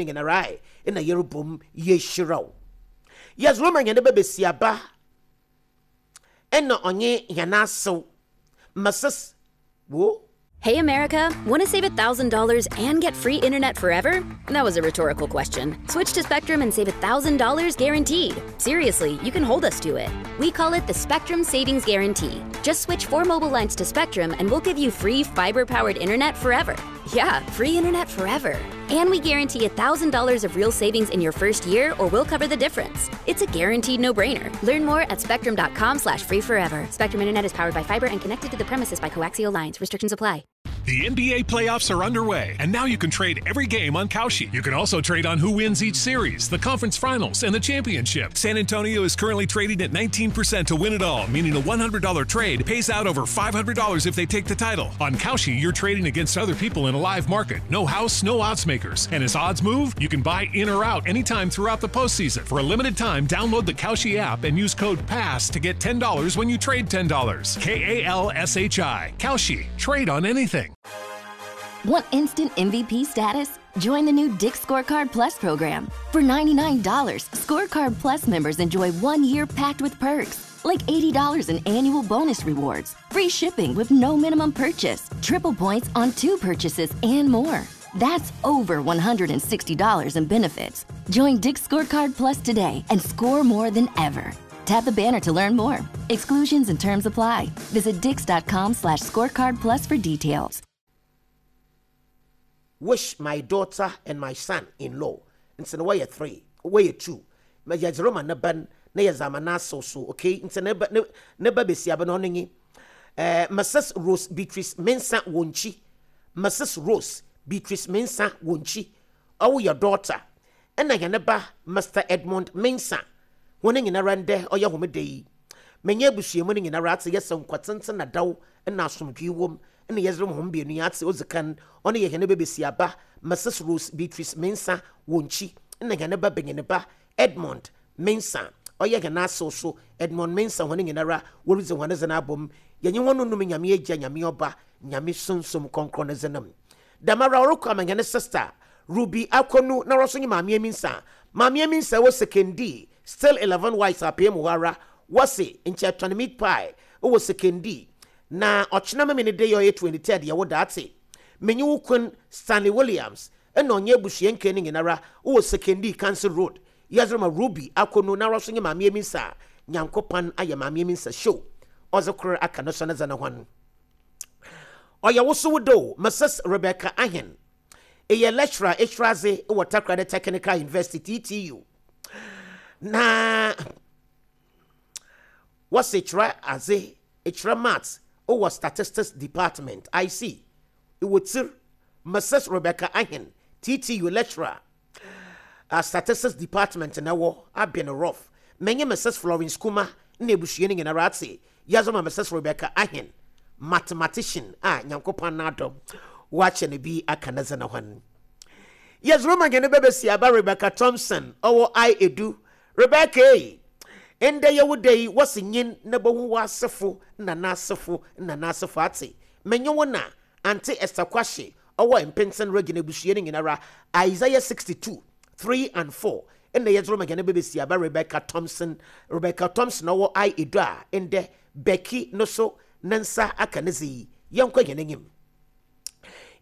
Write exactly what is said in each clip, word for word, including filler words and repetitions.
Nyinara na yɛrebom yɛhyira wo. Yɛdze roma hɛn ba besiaba ɛna ɔnye hɛn asew Missus Wo. Hey America, want to save one thousand dollars and get free internet forever? That was a rhetorical question. Switch to Spectrum and save one thousand dollars guaranteed. Seriously, you can hold us to it. We call it the Spectrum Savings Guarantee. Just switch four mobile lines to Spectrum and we'll give you free fiber powered internet forever. Yeah, free internet forever. And we guarantee one thousand dollars of real savings in your first year, or we'll cover the difference. It's a guaranteed no-brainer. Learn more at spectrum dot com slash free forever. Spectrum Internet is powered by fiber and connected to the premises by coaxial lines. Restrictions apply. The N B A playoffs are underway, and now you can trade every game on Kalshi. You can also trade on who wins each series, the conference finals, and the championship. San Antonio is currently trading at nineteen percent to win it all, meaning a one hundred dollar trade pays out over five hundred dollars if they take the title. On Kalshi, you're trading against other people in a live market. No house, no odds makers. And as odds move, you can buy in or out anytime throughout the postseason. For a limited time, download the Kalshi app and use code PASS to get ten dollars when you trade ten dollars. K A L S H I. Kalshi. Trade on anything. Want instant M V P status? Join the new Dick's Scorecard Plus program. For ninety-nine dollars, Scorecard Plus members enjoy one year packed with perks, like eighty dollars in annual bonus rewards, free shipping with no minimum purchase, triple points on two purchases, and more. That's over one hundred sixty dollars in benefits. Join Dick's Scorecard Plus today and score more than ever. Tap the banner to learn more. Exclusions and terms apply. Visit dicks dot com slash scorecard plus for details. Wish my daughter and my son-in-law. Nti no wɔyɛ three, wɔyɛ two. Ma yɛdze roma ne ba na yɛdze ama n'asew so, okay? Nti ne ba ne ne ba besiaba no, ɔno nye ɛɛ Missus Rose Beatrice Mensa Wɔnkyi. Missus Rose Beatrice Mensa Wɔnkyi, ɔwo yɛ daughter, ɛna yɛn ba Mister Edmond Mensa. Wɔn nyinara, ndɛ ɔyɛ homeda yi, menye abusuamu no nyinara ate yɛsɛ nkwa tenten na daw na asomdwee wom ɛna yɛdze roma hom mmienu yi ate. Odzi kan, ɔno yɛ hɛn ba besiaba Missus Rose Beatrice Mensa Wɔnkyi, ɛna hɛn ba benyin ba Edmond Mensa, ɔyɛ hɛn asew so Edmond Mensa. Wɔn nyinara wɔredzi wɔn dze no abom. Yɛnye wɔn num Nyame Agya, Nyame Ɔba, Nyame Sunsum Kɔnkrɔn ne dze nam. Dɛmara ɔrekɔ ama hɛn sister Ruby Akɔnu na ɔso nye Maame Aminsa. Maame Aminsa wɔ Sekondi, still eleven white apɛ mu hɔ ara. Wɔse nkyɛ tɔn meat pie wɔ Sekondi na ɔkyena meme ne de yɛ ɔyɛ twenty-third yɛwɔ daate. Menye wo kun Stanley Williams ɛna ɔnyɛ abusua nkɛ no nyinara wɔ Sekondi Council Road. Yɛdze ma Ruby Akɔnu na ɔso nye Maame Aminsa. Nyankopɔn ayɛ Maame Aminsa show ɔdze koro aka no so ne dze ne hɔn. Ɔyɛ wosow do Missus Rebecca Ahen, ɛyɛ lecturer ehwradze wɔ Takoradi Technical University, T T U, na wɔsi kyerɛ adze, kyerɛ maths wɔ statistics department. I C ɛwɔ tsir. Missus Rebecca Ahen, T T U lecturer, uh, statistics department na wɔ abɛn rough. Menye Missus Florence Kuma na ebusua no nyinara ate. Yɛdze ma Missus Rebecca Ahen, mathematician a Nyankopɔn n'adɔm wakyɛ no bi aka ne dze ne hɔn. Yɛdze ma hɛn bɛbɛsi aba Rebecca Thompson, ɔwɔ I edu. Rebecca ei, ndɛ yɛwo da yi, wɔsi nyin na bɛhu w'asefo na n'asefo na n'asefo ate. Menye wo na Auntie Esther Kwahye, ɔwɔ Mpenten Region, abusua no nyinara. Isaiah sixty-two three and four ɛna yɛdze ma hɛn bɛbɛsi aba Rebecca Thompson. Rebecca Thompson, ɔwɔ I edu a ndɛ Becky no so ne nsa aka ne dze yi. Yɛnkɔ hɛn anim.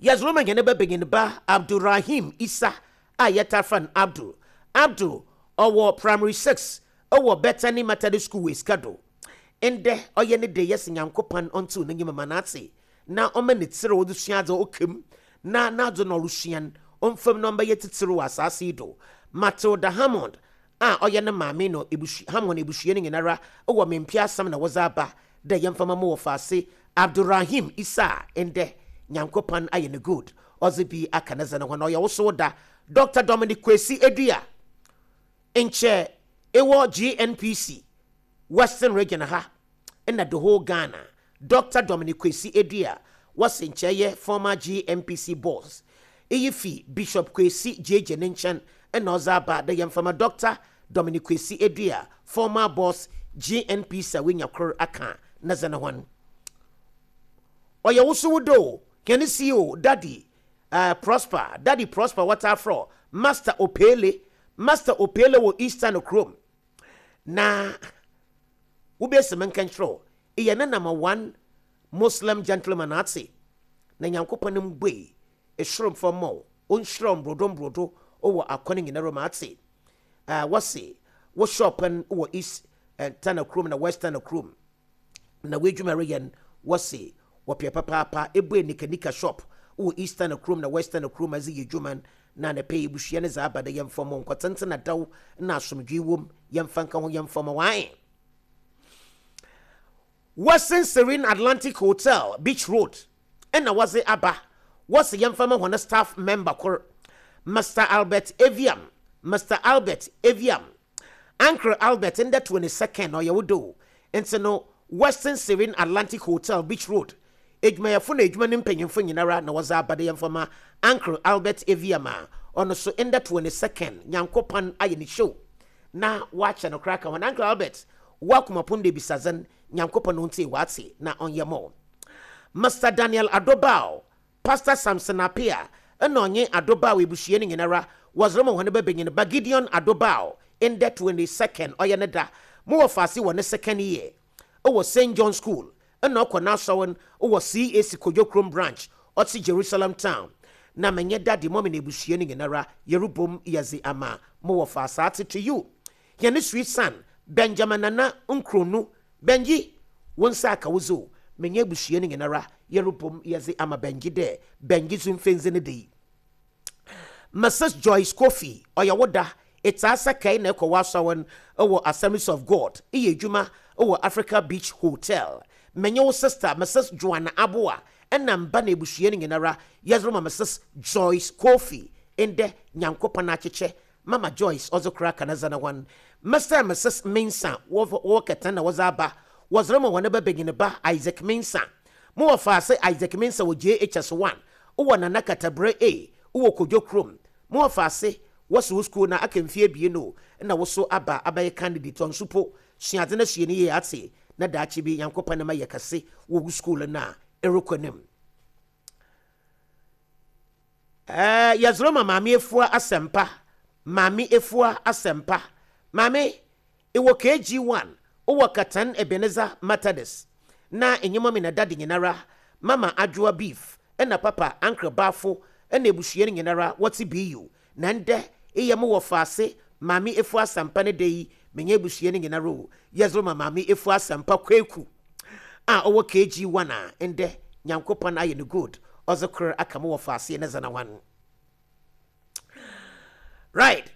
Yɛdze ma hɛn bɛbɛnyin ba Abdulrahim Isa a yɛta fa no Abdul. Abdul ɔwɔ primary six ɛwɔ Bethany Methodist School wɔ Esikado. Ndɛ ɔyɛ ne de. Yɛsɛ Nyankopɔn ɔntew n'enyim ma n'ate na ɔma ne tsir a wɔde sua adze ɔkam na n'adze na ɔresua no ɔmfam na ɔmbɛyɛ titiri wɔ asase yi do. Matilda Hammond a ɔyɛ ne maame no ebusua, Hammond ebusua no nyinara wɔ mempia asɛm na wɔdze aba dɛ yɛmfa ma mo wɔ faase Abdulrahim Isa a ndɛ Nyankopɔn ayɛ no good, ɔdze bi aka ne dze no ho. Na ɔyɛ wosow da, Doctor Dominic Kwesi Edua, nkyɛ ɛwɔ G N P C Western Region ha ɛna the whole Ghana. Doctor Dominic Kwesi Edua, wɔsi nkyɛ yɛ former G N P C boss. Iyi fi Bishop Kwesi J J ne nkyɛn ɛna ɔdze aba dɛ yɛmfama Doctor Dominic Kwesi Edua, former boss G N P C, a wenya kor aka ne dze ne ho. Ɔyɛ wosow do hɛn C E O Daddy uh, Prosper, Daddy Prosper, wɔtaa frɔ Master Opele, Master Opele wɔ Eastern kurom na wobɛsi me nka nkyerɛ wo, ɛyɛ ne number one Muslim gentleman ate na Nyankopɔn mbue esoro mfa ma wo, ɔnhyira wo mbrodo mbrodo wɔ akɔne nyinara mu ate. uh, wɔse wo shop no wɔ East uh, Tana kurom na West Tana kurom na w'adwuma reyɛ no, wɔse wɔpɛ papaapa. Ebue nikanika shop wɔ East Tana kurom na West Tana kurom adze yɛ adwuma na ne pɛ ebusua ne dza aba dɛ yɛmfa mo nkɔtenten na daw na asomdwee wom, yɛmfa nka ho, yɛmfa mo wae. Western Serene Atlantic Hotel, Beach Road, ɛna wɔdze aba, wɔse yɛmfa ma hɔn staff member kor, Mister Albert Aviam, Mister Albert Aviam, Uncle Albert, ndɛ twenty-second ɔyɛ wo do. Nti no Western Serene Atlantic Hotel, Beach Road edwumayɛfo na edwuma ne mpanyimfo nyinara na wɔdze aba de yɛmfa ma Uncle Albert Aviam a ɔno so ndɛ twenty-second Nyankopɔn ayɛ ne show na wakyɛ no koraa ka ho. Uncle Albert, wakomapon de bisadzen, Nyankopɔn no ntie wate na ɔnyɛ mo. Mister Daniel Adobao, Pastor Samson Apia ɛna ɔnye Adobao ebusua no nyinara wɔdze ma hɔn bɛbɛnyin ba Gideon Adobao, ndɛ twenty-second ɔyɛ ne da. Mo wɔ faase wɔ ne second year ɛwɔ Saint John School ɛna ɔkɔ n'asɔre wɔ C A C Kodwokrom branch ɔte Jerusalem Town na menyɛ daddy, mummy na ebusua no nyinara yɛrebom yɛdze ama mo wɔ faase ate. To you, yɛne sweet son Benjamin Nana Nkronu Benji, wo nsa aka wo zo. Menyɛ abusua no nyinara yɛrebom yɛdze ama Benji dɛ Benji so mfɛnzi no de yi. Missus Joyce Kofi, ɔyɛ wo da ɛtaa sɛ kae na ɛkɔ w'asɔre wɔ Assemblies of God, ɛyɛ adwuma wɔ Africa Beach Hotel. Menye wo sister Missus Joanna Aboa ɛna mba na abusua no nyinara yɛdze ma Missus Joyce Kofi, ndɛ Nyankopɔn akyekyɛ Mama Joyce ɔdze kora kanadza na hɔn Mister and Missus Mensa wɔwɔ kɛtɛn na wɔdze aba, wɔdze ma wɔn bɛbɛnyin ba Isaac Mensa. Mo wɔ faase Isaac Mensa wɔ J H S one wɔ Nana Katabrɛ A wɔ Kodwo kurom. Mo wɔ faase wɔsi wo school na aka mfie ebien o na woso aba abɛyɛ candidate ɔnso po suadze na sua ne yie ate na daakye bi Nyankopɔn ne ma yɛ kɛse wɔ wo school na ɛrekɔ anim. Ɛɛ yɛzoro ma Maame Efua Asɛmpa, Maame Efua Asɛmpa. Maame ɛwɔ K G one wowɔ Katan Ebenezer Methodist na enyima mi na daddy nyinara, Mama Adwoa Beef ɛna Papa Ankra Baafo ɛna ebusua no nyinara wɔte B U na ndɛ eyɛ mo wɔ faase Maame Efua Asɛmpa ne da yi, menye ebusua no nyinara o yɛzoro ma Maame Efua Asɛmpa Kweku a ɔwɔ K G one a ndɛ Nyankopɔn ayɛ no good ɔdze kor aka mo wɔ faase ne zana wan. Right,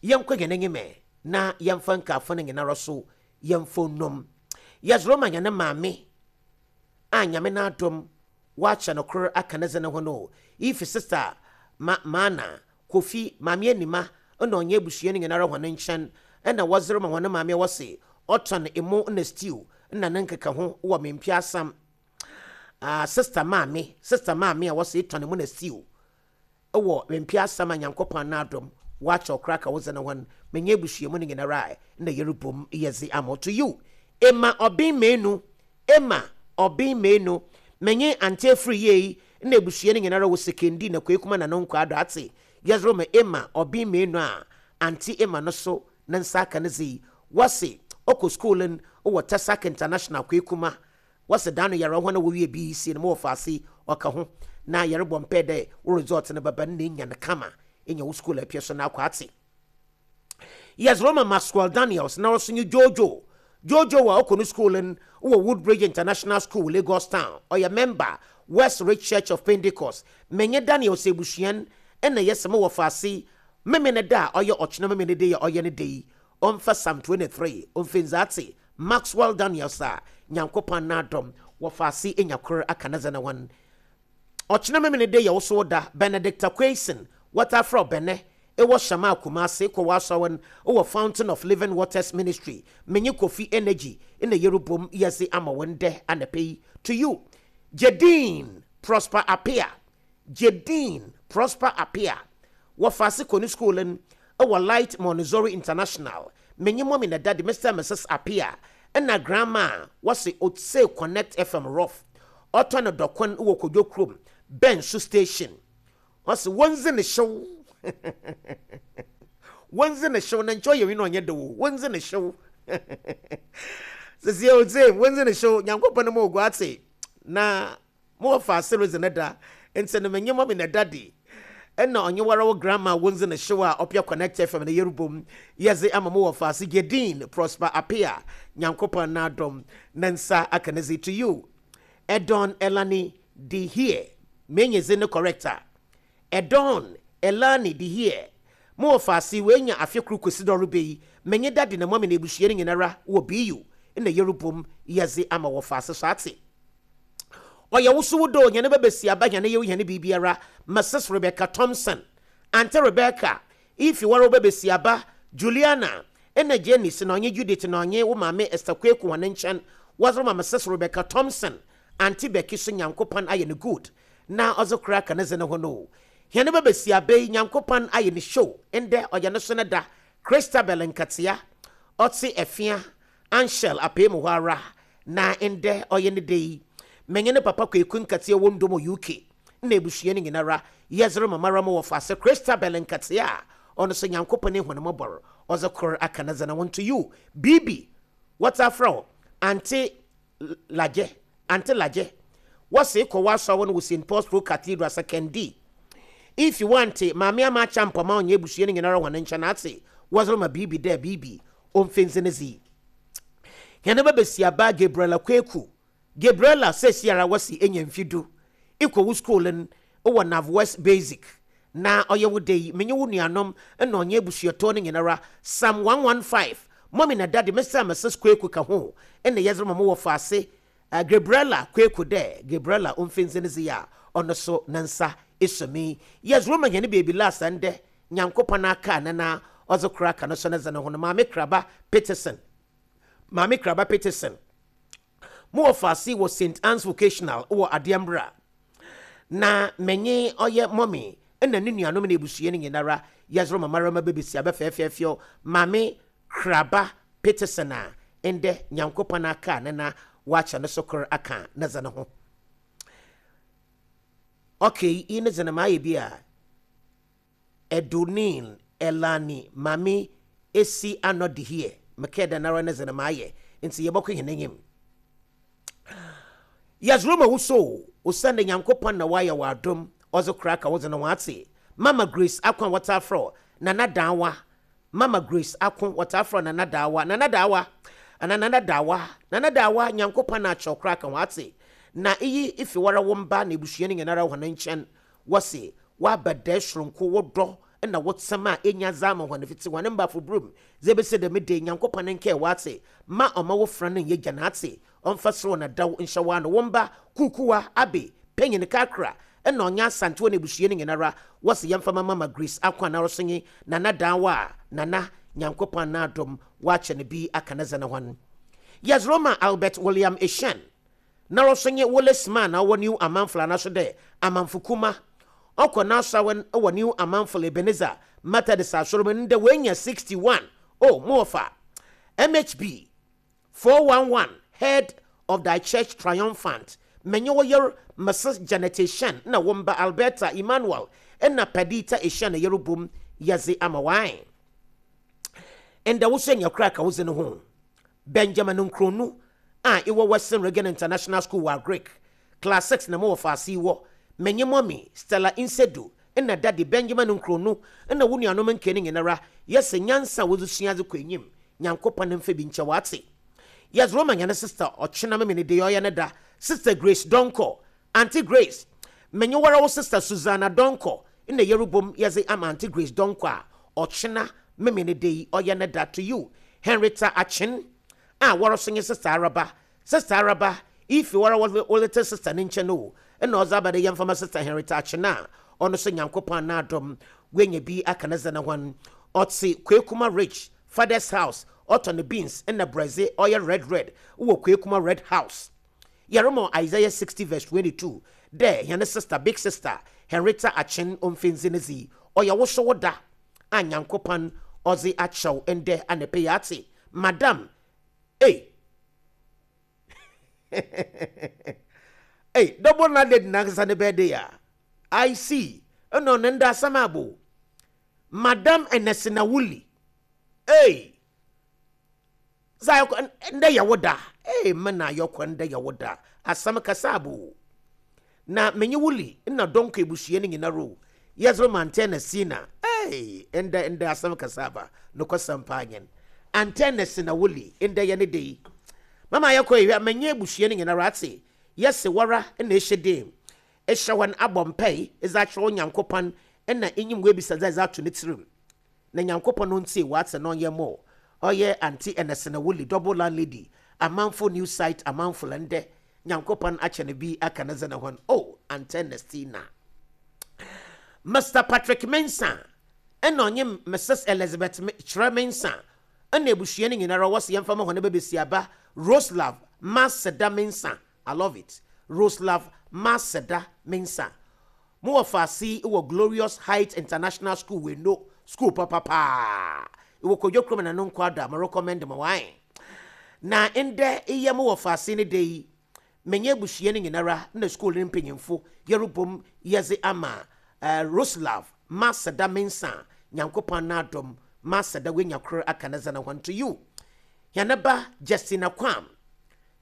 yɛnkɔ yɛn anim na yɛmfa nkaafo no nyinara so yɛmfa nnum. Yɛzoro ma yɛne maame a Nyame no adom wakyɛ no kor aka ne dze ne ho no, ifi Sister ma Maana Kofi, Maame Anima ɛna ɔnyɛ abusua no nyinara hɔn nkyɛn ɛna wɔzere ma hɔn maame a wɔse ɔtɔn emo na stew na ne nkeka ho wɔ Mempia Asam. uh, sister maame sister maame a wɔse tɔn emo na stew ɛwɔ Mempia Asam a Nyankopɔn n'adom wakyɛ ɔkora ka wodze ne ho no, menyɛ abusua mu no nyinara a na yɛrebom yɛdze ama. To you, Emma Ɔben Menu, Emma Ɔben Menu, menye ante afiri yie yi na abusua no nyinara wɔ Sekendi na Kwekuma na no nkɔ ado ate. Yɛdze ma Emma Ɔben Menu a ante Emma no so ne nsa aka no dze yi, wɔse ɔkɔ school no wɔ Tesak International Kwekuma. Wɔse da no yɛrɛ hɔ na wɔwie B E C no ma wɔfa ase ɔka ho na yɛrebɔ mpɛ dɛ wo result no bɛba no na enya no kama enya wo school apia so na akɔ ate. Yɛdze ma Maxwell Daniels na ɔso nye Jojo, Jojo wɔ ɔkɔ no school no wɔ Woodbridge International School, Lagos Town, ɔyɛ member West Ridge Church of Pentecost. Menye Daniels ebusuan ɛna yɛsɛ mo wɔ faase meme ne da a ɔyɛ ɔkyena meme ne de yɛ ɔyɛ ne de yi ɔmfa Psalm twenty-three ɔmfa nzaate. Maxwell Daniels a Nyankopɔn n'adɔm wɔ faase enya kor aka ne dze ne wɔn ɔkyena meme ne de yɛ woso da. Benedicta Quason, wɔtafrɛ bɛnɛ ɛwɔ Shama Kumase kɔ w'asɔre no wɔ Fountain of Living Waters Ministry. Menye Kofi Energy ɛna yɛrebom yɛdze ama wɔn dɛ anapɛ yi. To you, Jedin Prosper Apia, Jedin Prosper Apia, wɔfa ase kɔ ne school no ɛwɔ Light Montessori International. Menye mummy na daddy, Mister and Missus Apia, ɛna grandma a wɔse Otse Connect F M rough ɔtɔ no dɔkon wɔ Kodwo kurom Bɛnso Station, ɔse wɔndzi ne hyew. Wɔndze ne hyew na nkyɛ ɔyɛ wi na ɔnyɛ de wo wɔndze ne hyew sisi ɔdze wɔndze ne hyew. Nyankopɔn no ma ogu ate na mo wɔfa ase redze ne da nti no menye mɔmi na daddy ɛna ɔnye wara wo grandma wɔndze ne hyew a ɔpia Connect F M no yɛrebom yɛdze ama mo wɔfa ase Gedin Prosper Apia. Nyankopɔn n'adɔm ne nsa aka ne dze. To you, Edon Elani de here menye dze ne correct a Edon Elani de here mo wɔfa ase wenya afe koro kɔsi dɛ ɔreba yi, menye daddy na mɔmi na ebusua no nyinara wɔ B U na yɛrebom yɛdze ama wɔfa ase so ate. Ɔyɛ wo so wo do hɛne bɛbɛsi aba hɛne yɛwo hɛne biribiara. Missus Rebecca Thompson, Auntie Rebecca, ifi wara wo bɛbɛsi aba Juliana ɛna Janice na ɔnye Judith na ɔnye wo maame Esther Kweku wɔne nkyɛn wɔdze ma Missus Rebecca Thompson. Auntie Becky so Nyankopɔn ayɛ no good na ɔdze kora ka ne dze ne ho no hɛne bɛbɛsi aba yi. Nyankopɔn ayɛ ne show ndɛ ɔyɛ ne so ne da. Christabel Nkatea ɔte Ɛfia Anshel apee mu hɔ ara na ndɛ ɔyɛ ne da yi, menye ne papa Kwaku Nkatea wɔ ndom U K na ebusua no nyinara yɛdze mamara mu wɔfa ase Christabel Nkatea a ɔno so Nyankopɔn ehu ne mmɔbɔr ɔdze kor aka ne dze ne ho. To you, Bibi wɔta frɛ wo Auntie Lagye. Auntie Lagye, wɔse kɔ w'asɔre no wɔ Saint Paul's Pro Cathedral Sekondi. If you want maame ama akyɛ mpɔma ɔnyɛ ebusua no nyinara wɔn nkyɛn ate wɔdze ma biribi dɛ biribi ɔmfɛnsi ne zi hɛn bɛbɛsi aba Gabriela Kweku. Gabriela sɛsiara wɔsi enya mfi du ikɔ wo school no wɔ Nav West Basic na ɔyɛ wo de yi, menye wo nuanom na ɔnyɛ abusuatɔ no nyinara Psalm one one five mɔmi na daddy Mister and Missus Kweku ka ho ɛna yɛdze ma mo wɔ faase uh, Gabriela Kweku dɛ Gabriela ɔmfɛnsi ne zi a ɔno so ne nsa esumi yɛdze ma hɛn baby last ndɛ Nyankopɔn aka ne na ɔdze kora ka no so ne dze ne ho no. Maame Kraba Peterson, Maame Kraba Peterson, mo wɔ faase wɔ Saint Anne's Vocational wɔ Adeɛmbra na menye ɔyɛ mɔmi ɛna ne nuanom na ebusua no nyinara yɛzoro mamarama bɛbɛsi abɛfɛɛfɛɛfɛw Maame Kraba Peterson a ndɛ Nyankopɔn aka ne na wakyɛ no so kor aka ne dze ne ho. Okay, yi ne dze no maayɛ bi a Edonin Elani Mame esi ano de here mekɛɛ dɛ nara ne dze no maayɛ nti yɛbɔkɔ hɛn enyim. Yɛzoro ma wo so osiane Nyankopɔn na wayɛ wɔ adom ɔdze kora ka wodze no ho ate. Mama Grace Ako a wɔtaa frɛ Nana Daawa, Mama Grace Ako wɔtaa frɛ Nana Daawa, Nana Daawa ana Nana Daawa, Nana Daawa, Nyankopɔn na akyɛw kora ka ho ate na iyi ifi wara wo mba na ebusua no nyinara hɔn nkyɛn wɔse woaba dɛ soronko wodɔ na wotsɛm a enya dza ama hɔn fiti hɔn mbafo burum dze ebesi dɛm de Nyankopɔn nkɛɛ wate ma ɔma wo fra no nyɛ gya n'ate ɔmfa soro na daw nhyɛ wo ano. Wo mba Kukuwa Abe panyin kakra ɛna ɔnyɛ Asantewa no abusua no nyinara wɔse yɛmfa ma Mama Grace Ako a naro so nye Nana Daawa a Nana Nyankopɔn n'adom wakyɛ no bi aka ne dze ne ho. Yɛzoro Albert William Eshan naro so nye Wallace Man a ɔwɔ New Amanfo anaso dɛ Amanfo Kuma ɔkɔ n'asawen wɔ New Amanfo Ebenezer Methodist asɔrɔ mu ndɛ wɔanya sixty-one. Oh, mo wɔfa M H B four one one, head of thy church triumphant, menye wo yer Missus Janet Eshan na wo mba Alberta, Emmanuel ɛna Padita Eshan na yɛrebom yɛdze ama wan ndɛ wo so anya kora ka wo dze no ho. Benjamin Nkronu a ɛwɔ Western Reagan International School wɔ Agric class six na mowɔ faase wɔ menye mɔmi Stella Nsedu ɛna daddy Benjamin Nkronu ɛna wo nuanom nke no nyinara yɛsɛ nyansa a wɔdze sua adze kɔ enyim. Nyankopɔn mfa bi nkyɛ wate. Yɛdze roma nyane sister ɔkyena meme de ɔyɛ ne da Sister Grace Donko. Auntie Grace, menye wara wo sister Susanna Donko ɛna yɛrebom yɛdze ama Auntie Grace Donko a ɔkyena meme ne de yi ɔyɛ ne da. To you, Henrietta Akyen a wɔre so nye Sister Araba. Sister Araba, ifi wara wo little sister ne nkyɛn o ɛna ɔdze aba de yɛmfama Sister Henrietta Akyen a ɔno so Nyankopɔn n'adom wenya bi aka ne dze ne ho. Ɔte Kwekuma Ridge Father's House, ɔtɔ ne beans ɛna brɛdze ɔyɛ red red wɔ Kwekuma Red House. Yɛremɔ Isaiah sixty verse twenty-two dɛ yɛne sister, big sister Henrietta Akyen ɔmfɛnzi ne dzi ɔyɛ wo so wo da a Nyankopɔn ɔdze akyɛw ndɛ anɛpɛ yɛ ate. Madam, ei ei, double na lady nankasa ne birthday a I see ɛna ɔne nda asɛm abo. Madam Ernestina Wuli, ei, dza ayɔkɔ ndɛ yɛ wo da. Ei, me na ayɔkɔ ndɛ yɛ wo da. Asɛm kasa abo na menye Wuli na dɔnkɔ ebusua no nyinara o, yɛdze ma Auntie Ernestina. Ei, ndɛ ndɛ asɛm kasa aba nokwasɛm paa nyɛn. Auntie Ernestina Wuli, ndɛ yɛ ne de yi. Mama ayɔkɔ yi, menye ebusua no nyinara ate yɛse wara na ehyɛ dem ehyɛ wɔn abɔ mpae ɛdze akyerɛ wo Nyankopɔn ɛna enyim webisa dza ɛdze ato ne tirim na Nyankopɔn no ntie wate na ɔnyɛ mo. Ɔyɛ Auntie Ernestina Wuli, double landlady, Amanfo New Site, Amanfo. Lɛndɛ Nyankopɔn akyɛ no bi aka ne dze ne hɔn o. Auntie Ernestina. Mister Patrick Mensah ɛna ɔnye Missus Elizabeth Kyerɛ Mensah ɛna ebusua no nyinara wɔsi yɛmfa ma hɔn bɛbɛsi aba Roselove Maseda Mensah. I love it, Roselove Maseda Mensah. Mo wɔ faase wɔ Glorious Heights International School, wɔ no school papapaa ɛwɔ Kodwo kurom na no nkɔ ada mo recommend mo wan na ndɛ iyɛ mo wɔ faase ne de yi. Menye abusua no nyinara na school no mpanyimfo yɛrebom yɛdze ama uh, Roselove Maseda Mensah. Nyankopɔn n'adom Maseda wenya koro aka ne dze ne ho to you. Yɛne ba Justina Kwam.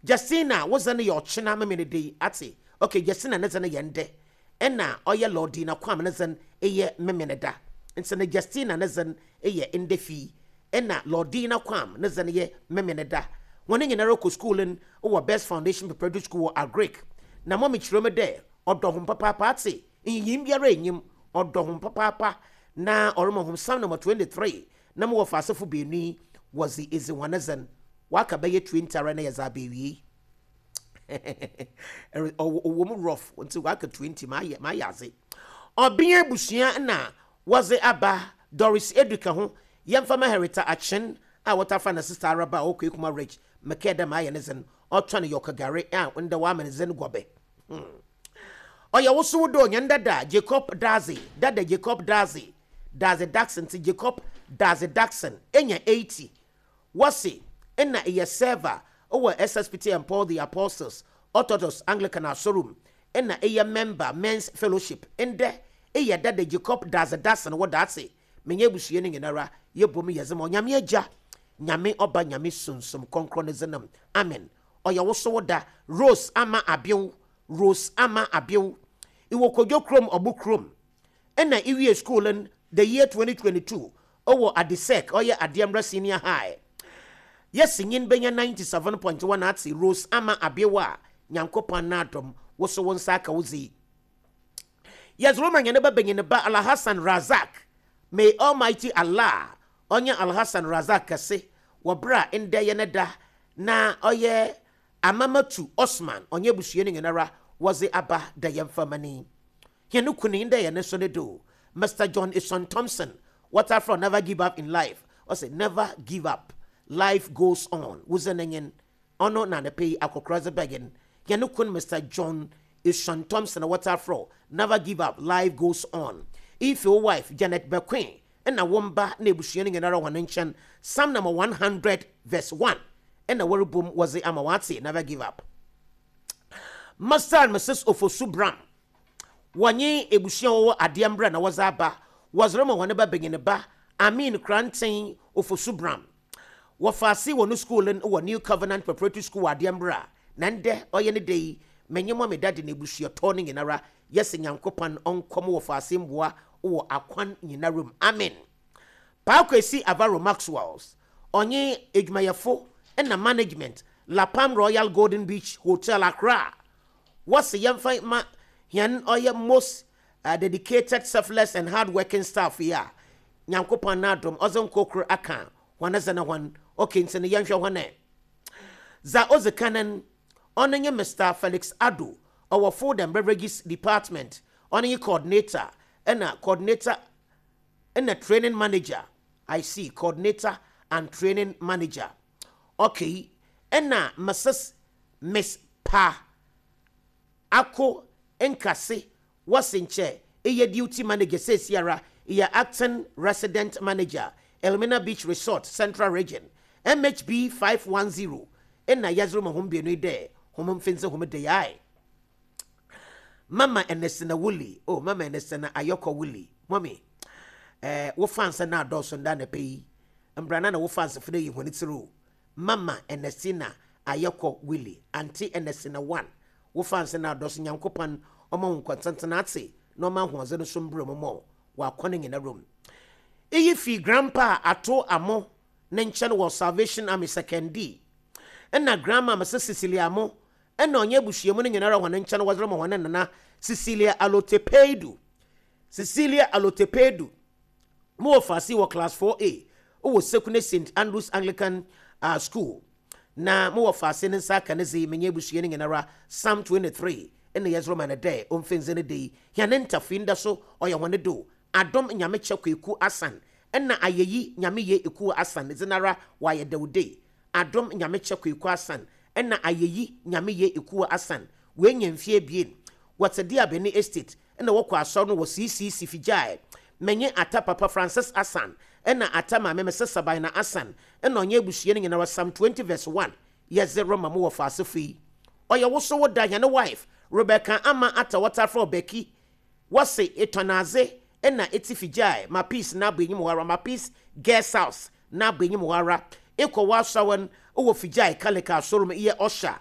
Justina, wodze no yɛ ɔkyena meme ne de yi ate. Okay, Justina ne dze no yɛ ndɛ ɛna ɔyɛ Lordina Kwam ne dze no ɛyɛ meme ne da. Nti no Justina ne dze no ɛyɛ ndɛ fii ɛna Lordina Kwam ne dze no yɛ meme ne da. Wɔn nyinara kɔ school no wɔ Best Foundation Preparatory School wɔ Agric na mɔmi kyerɛ mu dɛ ɔdɔ ho papaapa ate nyiyim biara enyim ɔdɔ ho papaapa na ɔrema ho Psalm number twenty-three na mo wɔ faasefo beenu yi wɔdze edzi wɔn dze no waka bɛyɛ twenty ara na yɛdze abɛwie. Ɔwɔ mu rough nti waka twenty. Maayɛ maayɛ adze ɔbea abusua na wɔdze aba Doris Eduka ho. Yɛmfa ma Herita Akyen a wɔtafa na sister Araba a ɔkɔ Ekuma Ridge mɛkɛ dɛ maayɛ ne dze no ɔtɔ no yɔkagare a ndɛ wama ne dze no gɔbɛ. Ɔyɛ wosow do nyɛ dada Jacob Daze, dada Jacob Daze, Daze Daxon. Nti Jacob Daze Daxon enya eighty. Wɔse ɛna ɛyɛ server ɔwɔ S S P T and Paul the Apostles Orthodox Anglican Asorum ɛna ɛyɛ member Men's Fellowship. Ndɛ ɛyɛ dada Jacob Daze Daxon wɔ daase. Menyɛ abusua no nyinara yɛbɔ mu yɛdze ma Onyame Agya, Nyame Ɔba, Nyame Sunsum Kɔnkrɔn ne dzenam. Amen. Ɔyɛ wosow da Rose Ama Abew. Rose Ama Abew, ìwɔ Kodwo kurom, ɔbo kurom ɛna iwie school no the year twenty twenty-two ɔwɔ Adesec, ɔyɛ Adeɛmbrɛ Senior High. Yɛsi nyin bɛnya ninety-seven point one ate. Rose Ama Abew a Nyankopɔn n'adom woso wo nsa aka wo dzi. Yɛdze roma nyane ba benyin ba Alhassan Razak. May Almighty Allah ɔnyɛ Alhassan Razak kɛse wɔ berɛ a ndɛ yɛ ne da. Na ɔyɛ Amamatu Osman ɔnyɛ abusua no nyinara wɔdze aba da yɛmfa mani yɛne kunu ndɛ yɛ ne so ne do. Mister John Ison Thompson, what from never give up in life. Ɔsɛ never give up, life goes on. Wosɛ n'enyin ɔno na ne pɛ yi akɔkora dze bɛgin yɛne kun Mister John Ison Thompson, what from never give up, life goes on. If your wife Janet Bequin ɛna wɔn ba na ebusua no nyinara wɔn nkyɛn. Psalm number one hundred verse one ɛna wɔrebom wɔdze ama wɔate never give up. Master and Missus Ofosu Bram wɔnye ebusua wɔwɔ adeɛ mbrɛ na wɔdze aba wɔdze rema wɔn ba benyin ba Amin Kranten Ofosu Bram. Wɔfa ase wɔ no school no wɔ New Covenant Preparatory School wɔ adeɛ mbrɛ a na ndɛ ɔyɛ ne da yi. Menye mo me dade na ebusuatɔ no nyinara yɛsɛ Nyankopɔn ɔnkɔm wɔfa ase mboa wɔ akwan nyinara mu. Amen. Paako Esi Avaro Maxwells ɔnye edwumayɛfo ɛna management Lapam Royal Golden Beach Hotel, Accra, wɔsi yɛmfa ma yɛn ɔyɛ most uh, dedicated, selfless and hardworking staff yi a Nyankopɔn n'adom ɔdze nkokoro aka wɔn ɛsɛ ne wɔn. Okay, nti no yɛnhwɛ wɔn ɛ dza ɔdze kanan. Ɔno nye Mister Felix Ado, ɔwɔ Food and Beverages Department. Ɔno nye coordinator ɛna coordinator ɛna training manager. I see, coordinator and training manager. Okay, ɛna Missus Miss Pa Ako Nkase, wɔsi nkyɛ ɛyɛ duty manager seesiara, ɛyɛ acting resident manager, Elmina Beach Resort, Central Region, M H B five one zero. Ɛna yɛdze ma hom mmienu yi dɛ hom mfense hom de yae. Mama Ernestina Wuli, oh, Mama Ernestina Ayɔkɔ Wuli, mommy Eh, wo fans na adɔɔso nda na pɛ yi. Mbrana na wo fans fo yi hɔn tsir o. Mama Ernestina Ayɛkɔ Willie, Auntie Ernestina one. Wo fans na adɔɔso. Nyankopɔn ɔma wo nkɔntenten ate na ɔma ahoɔdzen no so mbrɛ mu mɔ wakɔ ne nyina rom. Iyi fi Grandpa Ato Amo ne nkyɛn wɔ Salvation Army Sekondi. Ɛna Grandma Mrs Cecilia Amo ɛna ɔnyɛ abusuamu no nyinara hɔn nkyɛn wɔdze ma hɔn nana Cecilia Alotepedu. Cecilia Alotepedu mo wɔ faase wɔ class four A wɔ Sekune Saint Andrews Anglican uh, School na mo wɔ faase ne nsa aka ne dze menye abusua no nyinara Psalm twenty-three ɛna yɛdze ma no dɛ ɔmfɛnze no de yi hɛne ntafei nda so ɔyɛ hɔne do. Adom Nyamekyɛ Kwaku Asan ɛna Ayɛyi Nyame Yɛ Eku Asan dze nara wɔayɛ dɛwde. Adom Nyamekyɛ Kwaku Asan ɛna Ayɛyi Nyame Yɛ Eku Asan wɔanya mfie ebien, wɔte de Abɛni Estate ɛna wɔkɔ asɔre no wɔ C C C Figyae. Menye Ata Papa Francis Asan ɛna Ata Maame Mrs Sabina Asan ɛna ɔnyɛ abusua no nyinara Psalm twenty verse one yɛdze rema mo wɔ faasefo yi. Ɔyɛ wo so wo da. Hɛne wife Rebecca Ama Ata wɔtafrɛ Ɔbɛki wɔse etɔnadze ɛna eti Figyae ma Peace na abɔ enyim hɔ ara, ma Peace Guest House na abɔ enyim hɔ ara. Ekɔ w'asawan wɔ Figyae Kalika asɔre mu yɛ ɔhyɛ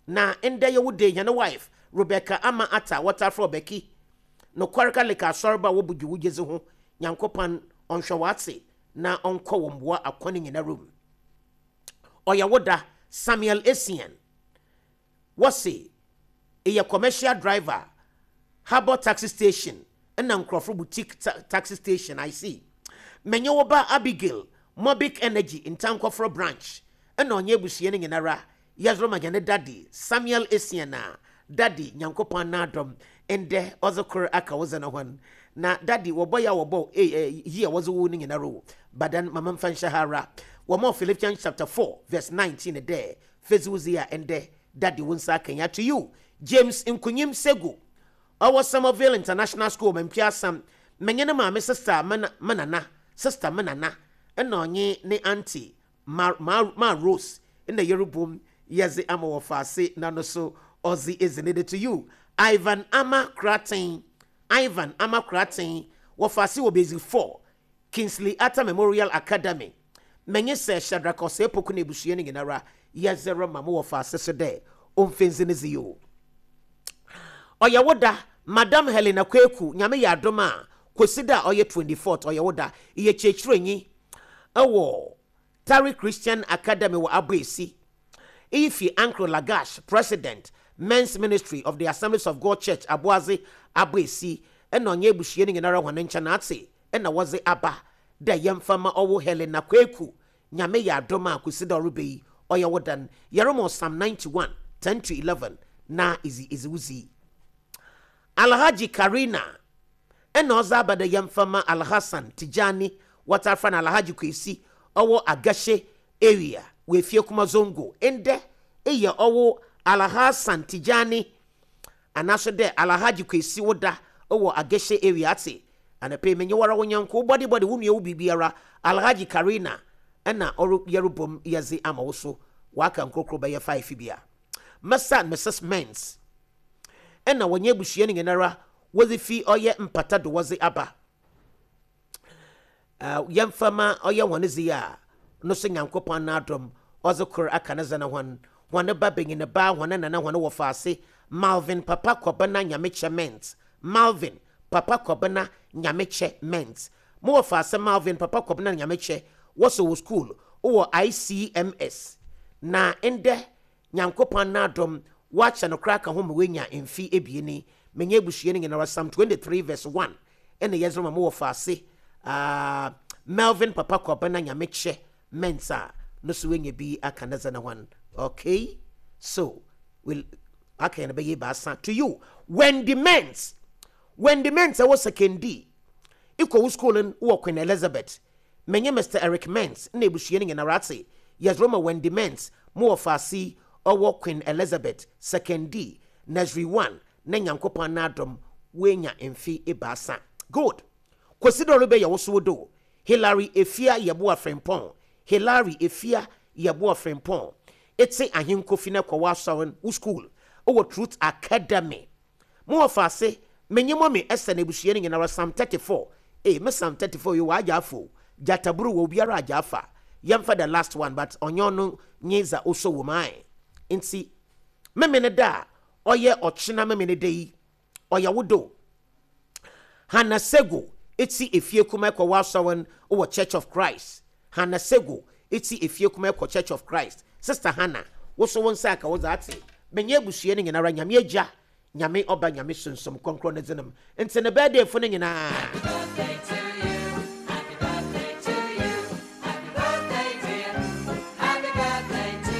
na ndɛ yɛ wo de. Hɛne wife Rebecca Ama Ata wɔtafrɛ Ɔbɛki nokware Kalika asɔre ba wɔbu gye wo gyedzi ho. Nyankopɔn ɔnhwɛ w'ate na ɔnkɔ wɔ mboa akɔ ne nyinara mu. Ɔyɛ wo da. Samuel Essien wɔse ɛyɛ commercial driver, Harbour Taxi Station ɛna Nkurɔfo Boutique ta taxi Station. I see. Menye wo ba Abigail, Mobic Energy Ntankɔforɔ branch ɛna ɔnyɛ abusua no nyinara yɛsoro ma yɛne daddy Samuel Essien a daddy Nyankopɔn n'adɔm ndɛ ɔdze kor aka wo dze no ho na daddy wɔbɔ yɛ a wɔbɔ eh, eh, yi a wɔdze wo no nyinara o badan mama mfa nhyɛ ha ara. Wɔma Philippians chapter four verse nineteen dɛ fedzi a ɛndɛ daddy wo nsa akanya. To you, James Nkunyim Sego ɔwɔ Somerville International School Mampia Asam, menye ne maame Sister Menana, Sister Menana ɛna ɔnye ne auntie ma, ma, ma Rose ɛna yɛrebom yɛdze ama wɔ faase na no so ɔdze ezi ne de. To you, Ivan Ama Kraten, Ivan Ama Kraten wɔ faase wɔ Basic four, Kingsley Atta Memorial Academy. Menye sɛ Shadrach Ɔsɛepoku na ebusua no nyinara yɛdze rema mo wɔ faase so dɛ ɔmfɛnzi ne dze yi o. Ɔyɛ wo da. Madam Helena Kweku, Nyame yɛ adom a Kwesi da a ɔyɛ twenty-fourth ɔyɛ wo da. Yɛ kyerɛkyerɛnyi ɛwɔ Tari Christian Academy wɔ Aboesi. Iyi fi Uncle Lagash, President, Men's Ministry of the Assemblies of God Church, Aboadze Aboesi ɛna ɔnyɛ abusua no nyinara hɔn nkyɛn ate ɛna wɔdze aba dɛ yɛmfa ma ɔwɔ Helena Kweku. Nyame yɛ adom a Kwesi da ɔreba yi ɔyɛ wo dan. Yɛrema Psalm ninety-one ten to eleven na izi izi wuzi. Alhaji Karina ɛna ɔdze aba dɛ yɛmfa ma Alhassan Tijani wɔtafa no Alhaji Kwesi ɔwɔ Agashe area wɔ Efie Kuma Zongo. Ndɛ eyɛ ɔwɔ Alhassan Tijani anaso dɛ Alhaji Kwesi woda ɔwɔ Agashe area ate anapɛ menye wara wo nyanko wo bɔde bɔde wo nua wo biribiara. Alhaji Karina ɛna ɔre yɛrebom yɛdze ama wo so waka nkorokoro bɛyɛ five bia. Mister and Missus Mens ɛna wɔnyɛ abusua no nyinara wɔdze fi ɔyɛ mpata do wɔdze aba uh, yɛmfa ma ɔyɛ wɔn dze a no so Nyankopɔn n'adom ɔdze kor aka ne dze no hɔn hɔn ba benyin ba hɔn nana hɔn wɔ faase Malvin Papa Kɔbena Nyamekyɛ Ment, Malvin Papa Kɔbena Nyamekyɛ Ment. Mo wɔ faase Malvin Papa Kɔbena Nyamekyɛ wɔsɔ wɔ school wɔ I C M S na ndɛ Nyankopɔn n'adom wakyɛ no koraa ka ho ma woanya mfe ebieni. Menye abusua no nyinara Psalm twenty-three verse one ɛna yɛdze ma mo wɔ faase uh, Melvin Papa Kɔbena Nyamekyɛ Mensa no so woanya bi aka ne dze no ho. Okay, so we'll aka yɛn bɛyɛ baasa. To you, Wendy Ments, Wendy Ments ɛwɔ Sekondi ikɔ wo school no wɔ Queen Elizabeth. Menye Mister Eric Ments na ebusua no nyinara ate yɛdze ma Wendy Ments mo wɔ faase ɔwɔ Queen Elizabeth Sekondi Nursery one na Nyankopɔn n'adom woanya mfe ebaasa. Good. Kwesi dɛ ɔrebɛyɛ wo so wo do. Hilary Efia Yɛboa Frempɔn, Hilary Efia Yɛboa Frempɔn ete Ahenkofi na kɔ w'asɔre wo school wɔ Truth Academy. Mo wɔ faase menye mɔmi ɛsɛ na ebusua no nyinara Psalm thirty-four Ee, me Psalm thirty-four yi wagya afo gyataburu wɔ obiara agya afa. Yɛmfa the last one, but ɔnyɛ ɔno nye dza ɔsɔ wɔ mu ae. Nti memene da a ɔyɛ ɔkyena memene da yi, ɔyɛ wo do. Hannah Sego eti efie kuma ɛkɔ wasɔwen wɔ Church of Christ. Hannah Sego eti efie kuma ɛkɔ Church of Christ. Sister Hannah, woso wo nsa aka wo dza ate. Menye abusua no nyinara, Nyame Agya, Nyame Ɔba, Nyame Sunsum Kronkron ne dzenam. Nti ne birthday fo no nyinaa. Happy birthday to you. Happy birthday to you. Happy birthday, dear. Happy birthday to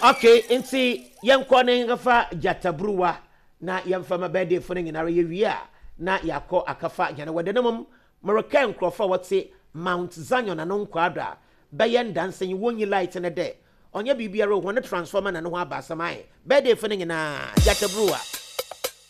you. Okay, nti yɛnkɔ ne nkafa gyataburuwa na yɛmfa ma birthday fo no nyinara. Yɛwie a na yɛakɔ akafa nyane wɔde no mom. Mereka nkurɔfoɔ a wɔte Mount Zion ano nkwaado a bɛyɛ ndansa yi wɔnyi light no dɛ ɔnyɛ biribiara o, wɔne transformer na ne ho aba asɛm ayɛ. Birthday fo no nyinaa, gyataburuwa.